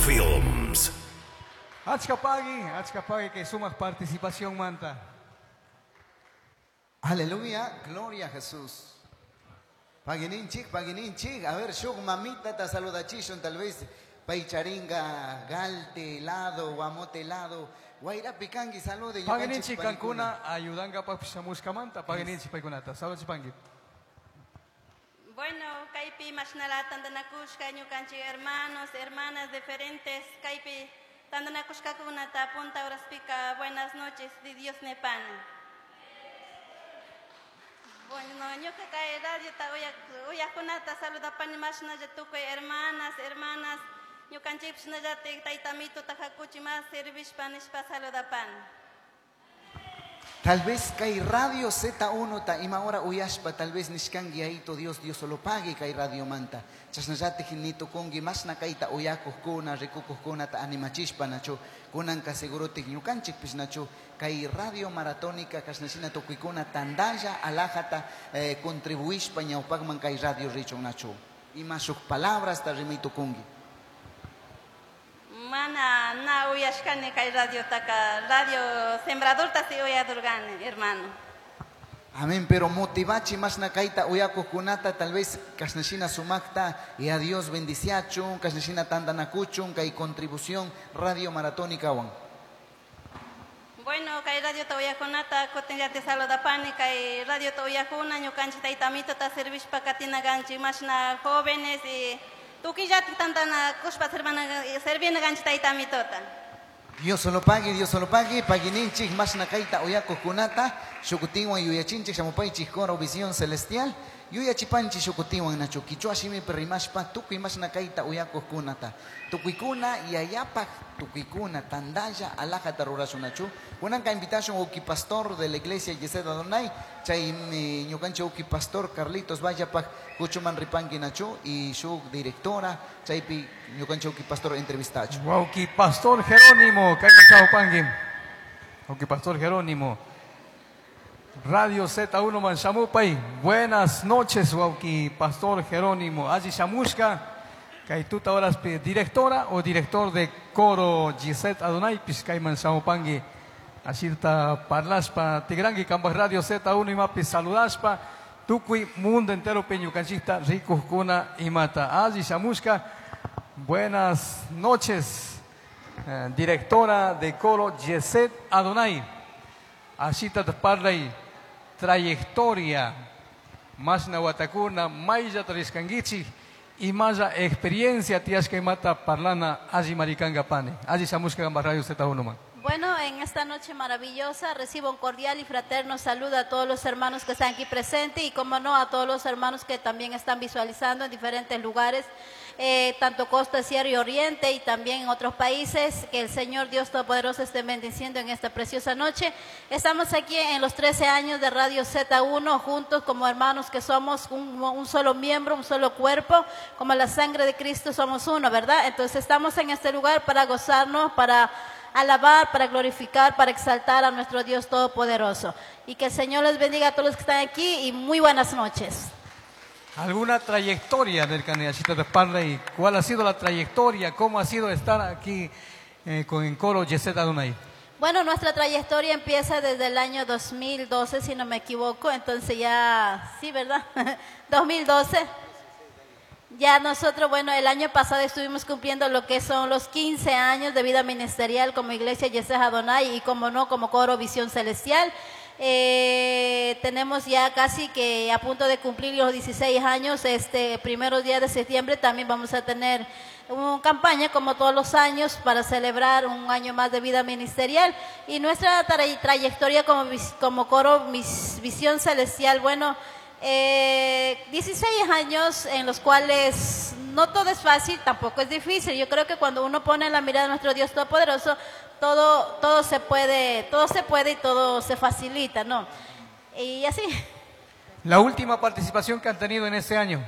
Films. Achka pagui, achka pagui que sumaq participación manta. Aleluya, gloria a Jesús. Pagininchik, pagininchik. A ver, shuk mamita ta saludachishun tal vez paycharinga galte helado, guamote helado. Wayrapi kanki salude. Pagininchik kankuna ayudankapaq shamushkamanta, pagininchik paykunata. Saludachipanki. Bueno, kaypi mashnala tantanakushka ñukanchik hermanos, hermanas diferentes, kaypi tantanakushkakunata punta horaspika buenas noches de Dios nepani. Bueno, ñuka kay radiota uyaqkunata saludapani mashnalla tukuy hermanas, hermanas, ñukanchikpish shinallatik tayta Amituta hakuchi mas servishpa nishpa saludapani. Tal vez kay radio Z1 ta ima hora uyashpa, tal vez nishkanki ayito Dios, Dios solo pague kay radio manta. Chasnallatik nitukunki mashna kayta uyakuqkuna, rikukuqkuna ta animachishpa nachu. Kunanka segurotik ñukanchikpish nachu. Kay radio maratónica kashnashina tukuykuna tandalla alajata contribuishpa ñawpakman kay radio richun nachu. Ima shuk palabras ta rimaytukunki. Mana na uyashkani kay radiotaka, radio sembradorta si uyadurgani, hermano. Amén, pero motivachi mashna kayta uyakuqkunata tal vez kashnashina sumakta y a Dios bendiciachun, kashnashina tantanakuchun kay contribución radio maratónica wan. Bueno, kay radio ta uyakunata kutinllati saludapani, kay radio ta uyakuna ñukanchik tayta Amituta servishpa katinaganchik mashna jóvenes y tukillati tantanakushpa servina ganchik tayta Amituta. Dios solo pague, Dios solo pague, paguininchik mashna kayta uyakuqkunata, shukutinwan yuyachinchik shamupaychik coro visión celestial, yuyachipanchik shukutinwan nachu, kichwa shimipi rimashpa tukuy mashna kayta uyakuqkunata, tukuykuna yayapaq, tukuykuna tandalla alajata rurashun nachu. Kunanka invitación uki pastor de la iglesia Yesed Adonai, chay ñukanchik uki pastor Carlitos Vallapaq kuchuman ripanki nachu y su directora, chaypi ñukanchik uki pastor entrevistachu. Uki pastor Jerónimo, kayman chawpanki. Uki pastor Jerónimo. Radio Z1 Manshamupay. Buenas noches, Wauki Pastor Jerónimo. Allí Shamushka, Kaituta horas directora o director de coro Gisette Adonai, Pishkay Manshamupangui. Ashirta parlaspa, Tigrangi, Cambas Radio Z1 y Mapi saludaspa, Tukui, mundo entero peñucanchista, Ricuscuna y Mata. Allí Shamushka, buenas noches, directora de coro Gisette Adonai. Ashita parlay trayectoria, masna watakuna, maylla triskangichi, y maya experiencia tiashka y mata parlana allí maricanga pane. Allí shamushka gamba radio Z1 man. Bueno, en esta noche maravillosa recibo un cordial y fraterno saludo a todos los hermanos que están aquí presentes y, como no, a todos los hermanos que también están visualizando en diferentes lugares, tanto Costa, Sierra y Oriente y también en otros países. Que el Señor Dios Todopoderoso esté bendiciendo en esta preciosa noche. Estamos aquí en los 13 años de Radio Z1, juntos como hermanos que somos un solo miembro, un solo cuerpo, como la sangre de Cristo somos uno, ¿verdad? Entonces estamos en este lugar para gozarnos, para alabar, para glorificar, para exaltar a nuestro Dios Todopoderoso. Y que el Señor les bendiga a todos los que están aquí y muy buenas noches. ¿Alguna trayectoria del candidatito de Parley? ¿Cuál ha sido la trayectoria? ¿Cómo ha sido estar aquí con el coro Yesed Adonai? Bueno, nuestra trayectoria empieza desde el año 2012, si no me equivoco. Entonces ya, sí, ¿verdad? 2012. Ya nosotros, bueno, el año pasado estuvimos cumpliendo lo que son los 15 años de vida ministerial como Iglesia Yesed Adonai y, como no, como coro Visión Celestial. Tenemos ya casi que a punto de cumplir los 16 años. Este primeros días de septiembre también vamos a tener una campaña como todos los años para celebrar un año más de vida ministerial. Y nuestra trayectoria como coro Visión Celestial, bueno, 16 años en los cuales no todo es fácil, tampoco es difícil. Yo creo que cuando uno pone la mirada de nuestro Dios Todopoderoso, todo se puede, todo se puede y todo se facilita, ¿no? Y así. La última participación que han tenido en este año.